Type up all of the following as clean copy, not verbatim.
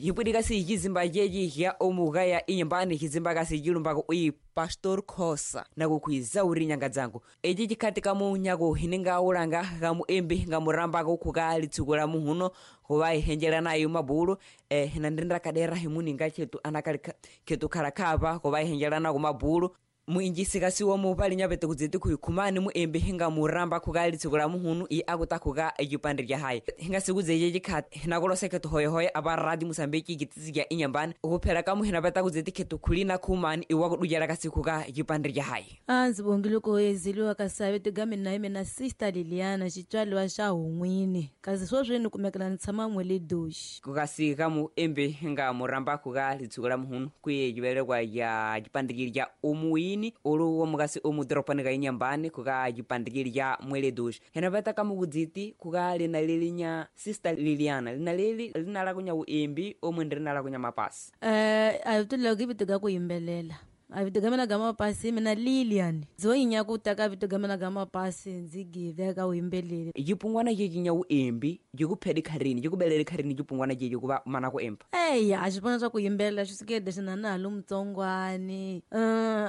Yipwidi kasi chizimba chechi cha omukaya inyumbani chizimba kasi chilumbako uyi Pastor Khosa nakukhwiza uri nyanga dzangu ichi chikhati kamunyaku hiningaulanga kamuembi ngamurambako khuka litsuku la muhuno khuva ihenjela nayo mabulu hinandinda kadera himuninga chetu anakali khetu khala khuva ihenjela nako mabulu muinjisi kasiwa mupali nyapete kudziti khuikhumani muembi hingamuramba khuka litsuku la muhunu i akuta khuka ecipande lya hayi hingasikuze chikhati hinakulosa khetu hoyehoye apa radi Mosambiki kitisi kya inyambani khuphela kamu hinapeta kudziti khetu khulina khumani iwakudujela kasi khuka ecipande lya hayi. A ndzi bongile ku ezeliwa ka savete ga mina hi mina Sister Liliana xitswaliwa xa Hun'wini kasi sweswi ni kumekela ni tshama n'we doxi. Kukasi kamuembi hingamuramba khuka litsuku la muhunu kwiye civelekwa ya cipandikili ca umuwini ulu womukasi omudoropanika ka inyambani khuka cipandikili ca mweledoxi henapeta kamukudziti khuka lina lilinya Sister Liliana lina leli linala kunya uembi omwe rinala kunya mapasi. A vito loko i vito ga ku yimbelela a vito ga mina ga mapasi mina Lilian ndzo yinya ku ta ka vito ga mina ga mapasi ndzi give ka uyimbeleli. Cipungwana cecinya uembi cikuphedi kharini cikubelele kharini cipungwana ceci kuva mana ku emba. Eya a xipona swa ku yimbelela xi sukele xi na na ha lu mutsongwani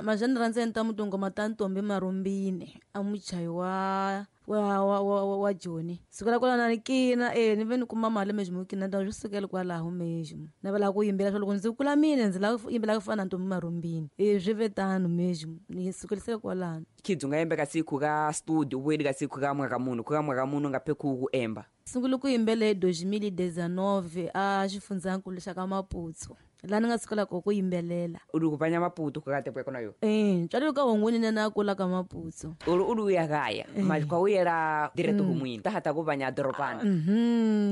mazhani rhandza ni ta mutungoma ta Ntombi Marumbini a muchayi wa Joni sukela kwalano ni kina ni ve ni kuma mali mexi kina ta swi sukela kwalaho mexi na va lava ku yimbelela swa loko ndzi kula mina ndzi lava ku yimbelela ku fana na Ntombi Marumbini swi ve tano mexi ni sukelisele kwalano. Khidzi unga yembe kasi khuka studio uwedi kasi khuka mwaka munhu khuka mwaka munhu nga phe ku emba. Sungule ku yimbelela hi 2019 a xifundzankulu xa ka Maputo laha ni nga sukela ko ku yimbelela. Uli kupanya Maputo kukate pweko nayo? Ntswalo ka Hongweni na kula ka Maputo. Uli uli uya kaya ma kwa uyela direct humwini ta hata kupanya doropana.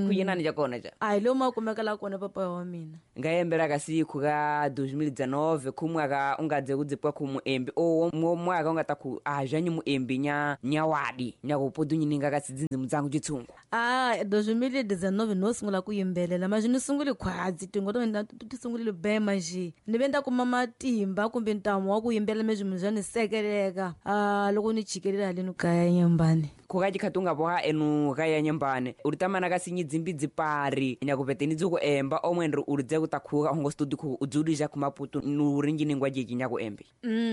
Kuyinani ja kona ja? A hi lomu a kumekela kona papa wa mina. Nga yembela kasi khuka 2019 khumwaka ungadze kudzipwa khumuembi o mwaka ungata khu azhanyi muembi nya nyawadi nyakupodunyinga kasi dzinzi mudzangu chitsungu. A 2019 no sungula ku yimbelela manje ni sungule khwadzi tingo to ti sungulile bema nje ni ve nda kuma matimba kumbe ntamu wa ku yimbelela mezwi munhu swa ni sekeleka loko ni chikelela haleni kaya nyambani. Khuka chikhati ungapoha enu kaya nyambani uri tamana kasi nyidzimbi dzipari nyakupete ni dzuku emba omwe ndri uri dze kuta khuka hongo studio khu udzulija khu Maputo nuri njiningwa jeki nyaku embe.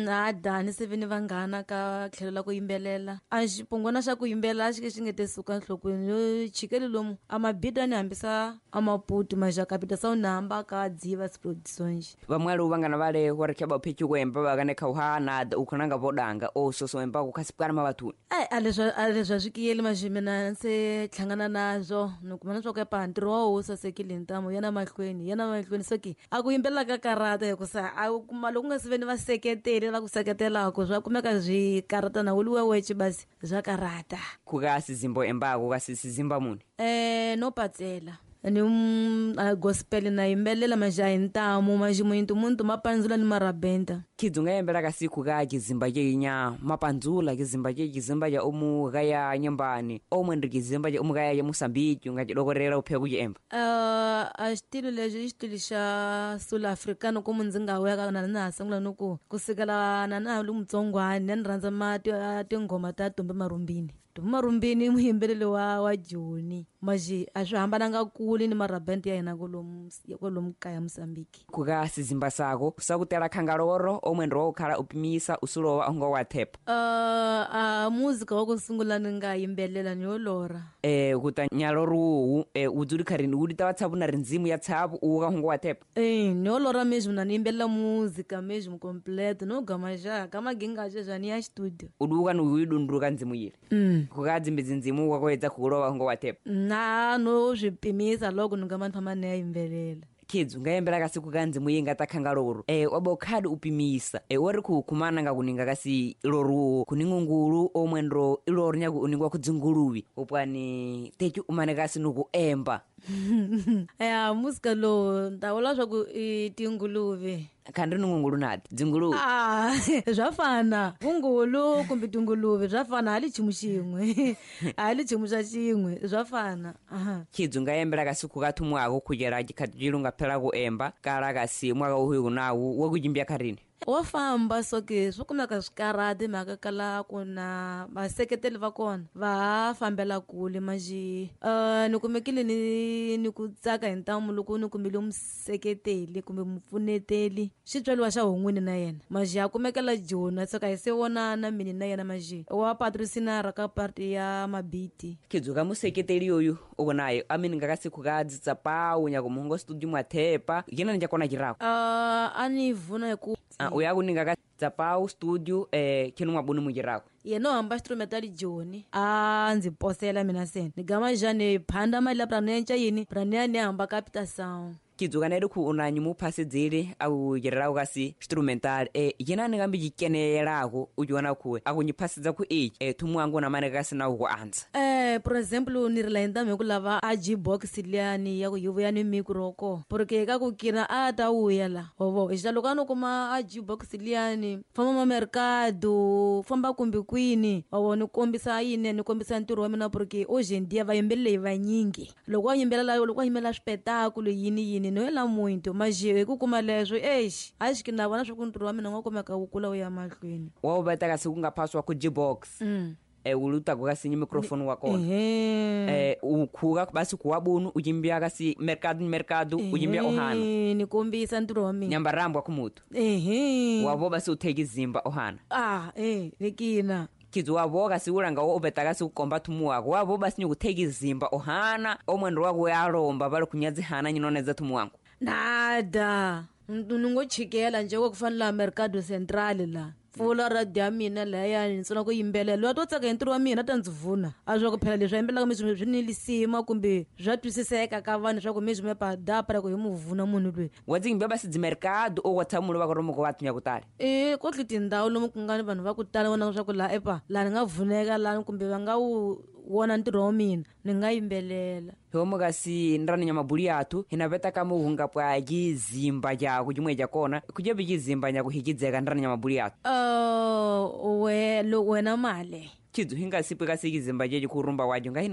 Ada ni se ve ni vanghana ka tlhelo la ku yimbelela a xipungwana xa ku yimbelela xi ke xi nge te suka nhlokweni yo chikele lomu a mabida ni hambisa a Maputo maxakapita sa u hamba ka dziva production. Vamwali uvangana vale hore khaba phechu kuemba vakane khauha na ukhonanga vodanga o soso emba kukhasipkana mavathuni. Ai a leswi a swi kiyeli maxi mina se hlangana nazwo ni kuma na swa ku ya ntirho wa wu sasekile ntamu yana mahlweni so ki a ku yimbelela ka karata hikusa a kuma loko nga si ve ni vaseketeli va ku seketelaka swa kumeka swi karata na wuli wewece basi swa karata. Khuka sizimbo embako kasi sizimba muni? No patsela ni gospel na yimbelela maja hi ntamu maxi muntu muntu mapandzula ni marabenta. Khidzi unga yembela kasi khuka kizimba ceinya mapandzula kizimba ce kizimba ca omu kaya nyambani omwe ndri kizimba ca omu kaya ya Mosambiki unga cidokorela uphe kuciemba. A xitilo lexi i xitilo xa Sul Africano ku ndzi nga weka na na ha sungula ni ku kusukela na na ha li mutsongwani na ni rhandza tinghoma ta Ntombi Marumbini. Ntombi Marumbini i muyimbeleli wa Joni maxi a swi hambananga kule ni marabente ya hina kwalomu kaya Mosambiki. Khuka sizimba sako sakutela khangaloro omwe ndri wakukhala upimisa usulowa ongo wa thepa. A muzika wa ku sungula ni nga yimbelela ni yo lora. Kuta nyaloru udzuli kharini uli ta tshavu na rindzimu ya tshavu uka hongo wa thepa. Ni yo lora mesmo na ni yimbelela muzika mesmo completo no gama ja kama ginga ja ni ya studio. Uduka ni uyidunduka ndzimu yile. Khuka dzimbi dzindzimu wakoedza khukulova hongo wa thepa. Na no swi pimisa loko ni nga famba ni ya yimbelela. Khidzi unga yembela kasi khuka ndzimu yi nga ta khangaloro waba ukhadi upimisa wari khukhumana nga kuninga kasi iloruwo khuningungulu omwe ndro iloro nyaku uningwa khudzinguluwi upwani techi umane kasi nuku emba. Ya musika lowu ni ta vula swa ku i tinguluve. Khandri ni ngungulu nati dzinguluve. Ah, swa fana vungulu kumbe tinguluve swa fana hali chimu xin'we, hali chimu xa xin'we, swa fana. Aha. Khidzi nga yembela kasi kukathu mwako khujela chikhati chilunga phela kuemba kala kasi mwaka uhuyu nawu wakuchimbya kharini. Wo famba soke swi kumeka swikarhati mhaka kala ku na vaseketeli va kona va ha fambela kule manjhe. Ni kumekile ni ku tsaka hi ntamu loko ni kumile museketeli kumbe mupfuneteli xitswaliwa xa hon'wini na yena manjhe a kumekela joni tsaka hi se vonana mini na yena manjhe wa patrocinara ka party ya mabiti. Khidzuka museketeli yoyu uko naye amini ngakasi khukadzitsa pawu nyako muhongo studio mwathepa yena ni chakona chirako. A ni vuna hi ku uyaku ningaka tsapau studio khenu mwabuni muchirako. Yena u hamba xitrumeta joni a ndzi posela mina seni ni gama njhani phanda mali la brani ya yini brani ya ni hamba Capital Sound. Kidzuka neri khu unanyi muphasedzele akuchereraku kasi instrumental yena ni kambi chikeneyelaku uchiona khuwe akunyiphasedzela khu echi thumu wangu na mane kasi na ku andza. Por exemple ni ri la ntamu hi ku lava a G-box liyani ya ku yi vuya ni micro ko porque ka ku kina a ta vuya la hovo hi xitalo ka no kuma a G-box liyani famba ma mercado famba kumbe kwini hovo ni kombisa yini ni kombisa ntirho wa mina porque hoje em dia vayimbeleri vanyingi loko wa yimbelela loko wa yimbelela swipetakulu yini yini no yela muito mas hi ku kuma leswo exi a xi na vona swa ku ntirho wa mina wa kumeka wu kula wu ya mahlweni. Wa wu veta kasi ku nga phasiwa ku G-box. Ulutaku kasi ni microphone wa kona. Ukhuka basi kuwabunu uchimbya kasi mercado ni mercado uchimbya ohana. Ni kombisa ntirho wa mina. Nyambarambwa kumutu. Wavo basi utheki zimba ohana. Nikina. Kidzi wavo kasi ulanga wo upeta kasi kukomba thumu wako wavo basi nikutheki zimba ohana omwendo wako yalomba vali kunyadzihana nyinonedza thumu wangu. Nada. Ni ngo chikela nje ku fana la Mercado Central la. Pfula radio ya mina lahayani ni sungula ku yimbelela loyi a to tsaka hi ntirho wa mina a ta ndzi vuna a swa ku phela leswi a yimbelelaka mi swi ni lisima kumbe swa twisiseka ka vanhu swa ku mi swi padapa ku hi mu vuna munhu loyi. Wa ndzi yimbe basi dzimercado o wa tshamulo va ku romo ku va tunya ku tala. Ko tli tindhawu lomu ku nga ni vanhu va ku tala vona swa ku laha epa laha ni nga vuneka laha kumbe va nga wu wona ntirho wa mina ni nga yimbelela. Homo kasi nrani nyamabuli yathu hinapeta kama uhunga pwa chizimba chaku chimwe chakona kuchepi chizimba nyaku hichidzeka nrani nyamabuli yathu. We wena male. Chidzu hingasipwe kasi chizimba chechi kurumba wacho nga